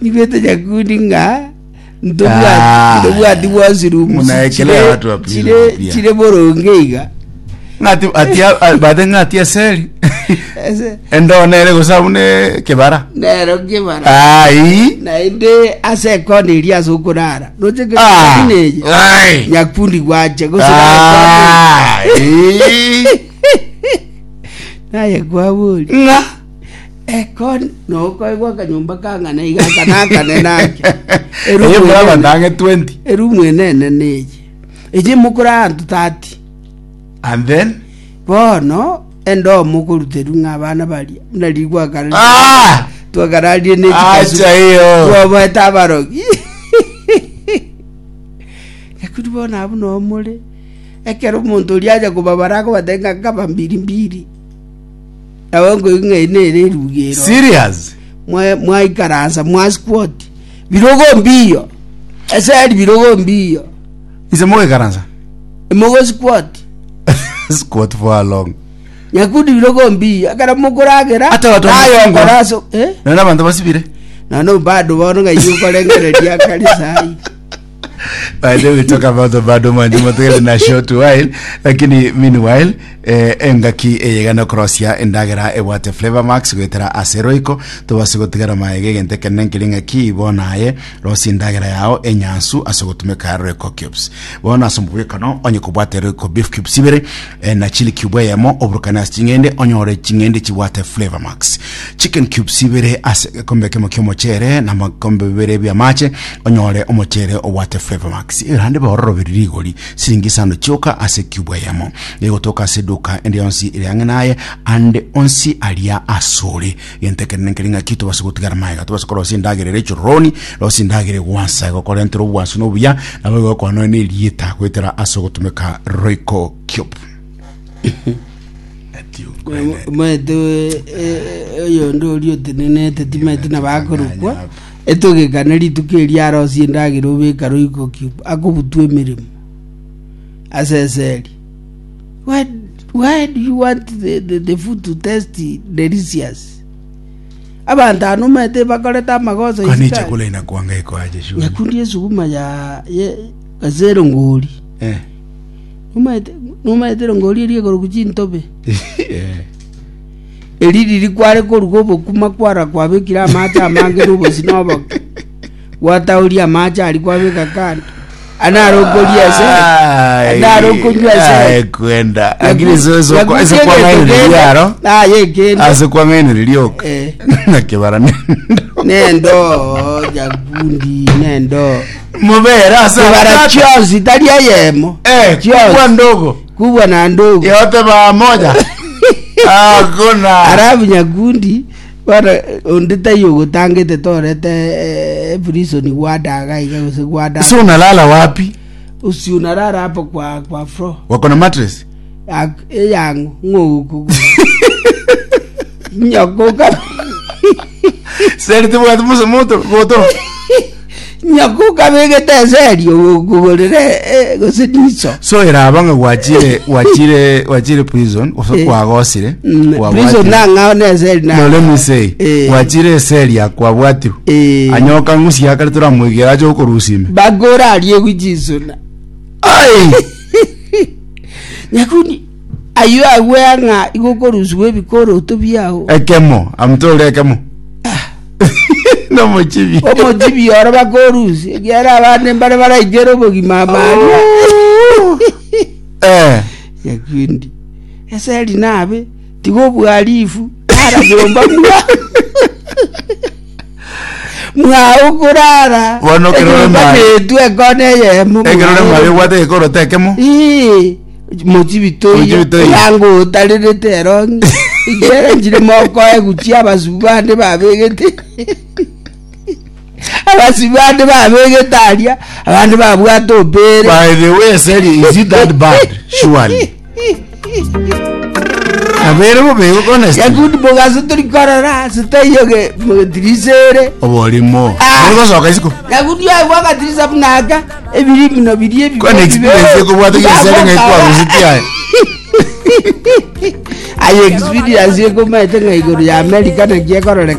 Nigwete nyakundi ng'a Ah. ntobwati bwonsi rooms Munaekelea chire- watu wa prison chire pia. chire boronge iga Ng'ati ati bate ng'ati eseri. Ese- Endo nere gose abune kebara. nero kebara Ai. naende ase ekona eria ase okorara roche Ah. kebara eye Ai. nyakundi gwacha gose Ai. naye kwabori Ng'a. Eko nokoegwa akanyomba kang'ana iga aka na akanene ake. Eye mbura abanto ang'e 20. Erumu ene enene eye. Eye mokore abanto 30. And then Bono endoo mokoruterwa ng'a abana baria buna riria gwakara Ah! twakararie ne chikasu Acha iyo. twabaete abarogi Lakini bono abwo noo more ekero omonto oria acha kobabara akobatebia ng'a nkaba mbiri mbiri Nabo nkoigwa ng'a eye nere eruga ero. Serious? Mwa- Mwaikaransa mwa squat birogo mbiyo eseri birogo mbiyo Inse mogoikaransa? mogo squat Squat for how long? nyakundi birogo mbiyo ekero mokoragera Ata abanto naye bamosingwa. okora ase eh? Nonya abanto basibire. Nono bado bono ng'ai okorengereria akare sai By the way, we talk about the bado manjuma tugende na short while lakini meanwhile eh, engaki eyegana okorosia endagera ebwate flavor max goetera ase roiko tobase gotigara maega egento ekenene nkeri ng'aki bono aye rosia endagera yao enyansu ase ogotumeka roiko cubes bono ase omobwekano onye kobwate roiko beef cubes ibere eh, na chili cube eyemo oburukane ase ching'ende onyore ching'ende chibwate flavor max chicken cubes ibere ase egekombe ekemo ki'omochere na amakombe bibere bi'amache onyore omochere obwate flavor max erande bororoberi rigori siringi isano chioka ase cube eyemo egotoka ase eduka ende yonsi ere ang'e naye ande onsi aria asore gento ekenene nkeri ng'aki tobase gotigara magega tobase korosia endagera ere echoroni rosia endagera egwansa egokorentera obwansu na obuya nabo egokwana nonya na erieta goetera ase ogotumeka royco cube Ati okwene. Omanyete oyonde oria otenenete timanyeti nabo akorokwa etogekane rituko erio arosie endagera obeka roiko cube akobutwa emeremo ase eseri why, why do you want the, the, the food to taste delicious abanto aba nomanyete bakorete amagoso Kwani isiko chakula inakuanga iko aje shule? nyakundi esuguma ya ye ase erongori Eh. Nomaete nomaete erongori eria ekorokwa chintobe Eh. eri riria kware koruga obokima kwara kwabekire amache amange na obosie na oboke gwataoria amache aria kwabeka kando ande naro okoria ase Ai, naro okonywa ase ai, kwenda lakini so so Nyakundi ese egento kwang'ainereria kende, aro aye ekende ase kwang'ainereria oka Eh. nakebara nendo nendo nyakundi nendo mubere ase kibara abatata. chionsi tari eyemo Eh, Chionsi. kubwa ndogo kubwa na ndogo yote pamoja hakuna arabu nyakundi bono onde taiyo ogotangete torete eh, prison gwadaga iga gose gwadaga so unalala wapi usi unarara hapo kwa kwa floor wako na mattress Ak- eyang'o ng'ogokogo nyakoka seri tibwati muso moto goto Nyakuka begete eseri ogokogorera eh, gose niso. so eraba ng'a gwachire gwachire gwachire prison gose Eh. kwagosire Mm, kwabwatire. Prison nang'ao na eseri no let me say Eh. gwachire eseri yakwabwatirwe Eh. anyoka ng'usi akare toramoigera ache gokorusia ime Bakora arie guchisuna. ai Nyakundi ayio agwe ng'a igokorusiwa ebikoroto biao. ekemo amtore ekemo nomochibi Omochibi oro bakorusia ekiagera abande mbare baraikere obogima amaria. eh Nyakundi eseri nabe tiga obwarifu rara nyomba mwa mwao korara Bono ekero ore enyomba mari- netwe ekona eyemo ekero ore mwao. mari obwate egekoroto ekemo Ii, mochibi toiyo Mochibi toiyo. yango otarerete erongi ekiagera nchire mokoe guchia abasubu bande babegete abasubu bande babegete aria abande babwate opere by the way seri is it that bad surely abere bobe honestly yakundi mogaso tori korora ase taiyo ge mogetirisere oborimo Ah. mogosoka isiko Nyakundi aye gwagatirisa buna aka ebiri bino biria ebibe Kwana experience ekobwata gesere ng'a ekwarusetie aye. Aye experience ekomaete ng'a igoro ya America naki ekororeka.